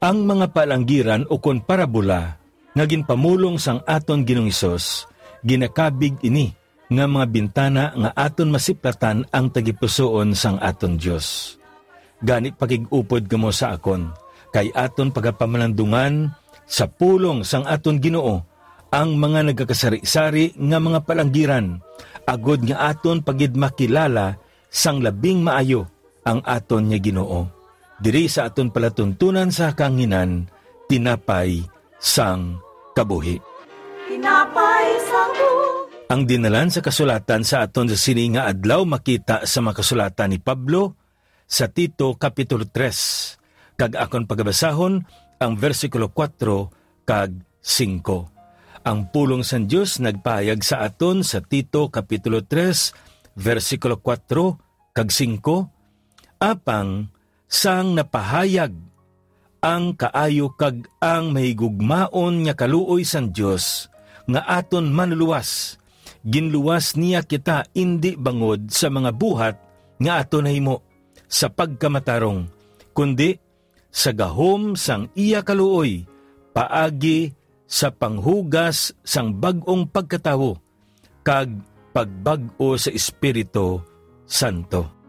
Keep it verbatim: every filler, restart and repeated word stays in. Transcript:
Ang mga palanggiran ukon parabola nga ginpamulong sang aton Ginoong Hesus, ginakabig ini nga mga bintana nga aton masiplatan ang tagipusoon sang aton Dios. Gani, pakig-upod kamo sa akon, kay aton pagapamalandungan sa pulong sang aton Ginoo ang mga nagakasari-sari nga mga palanggiran, agod nga aton pa gid makilala sang labing maayo ang aton nga Ginoo. Diri sa aton palatuntunan sa kahanginan, tinapay sang kabuhi. Tinapay sang buhi. Ang dinalan sa kasulatan sa aton sa sini nga adlaw makita sa mga kasulatan ni Pablo sa Tito Kapitulo tres, kag akon pagabasahon ang bersikulo kuwatro kag singko. Ang pulong sang Dios nagpahayag sa aton sa Tito Kapitulo tres, bersikulo kuwatro kag singko, apang sang napahayag ang kaayo kag ang mahigugmaon nga kaluoy sang Dios nga aton Manlulowas, ginluwas niya kita indi bangod sa mga buhat nga aton nahimo sa pagkamatarong, kundi sa gahom sang iya kaluoy paagi sa panghugas sang bag-ong pagkatawo kag pagbag-o sa Espiritu Santo.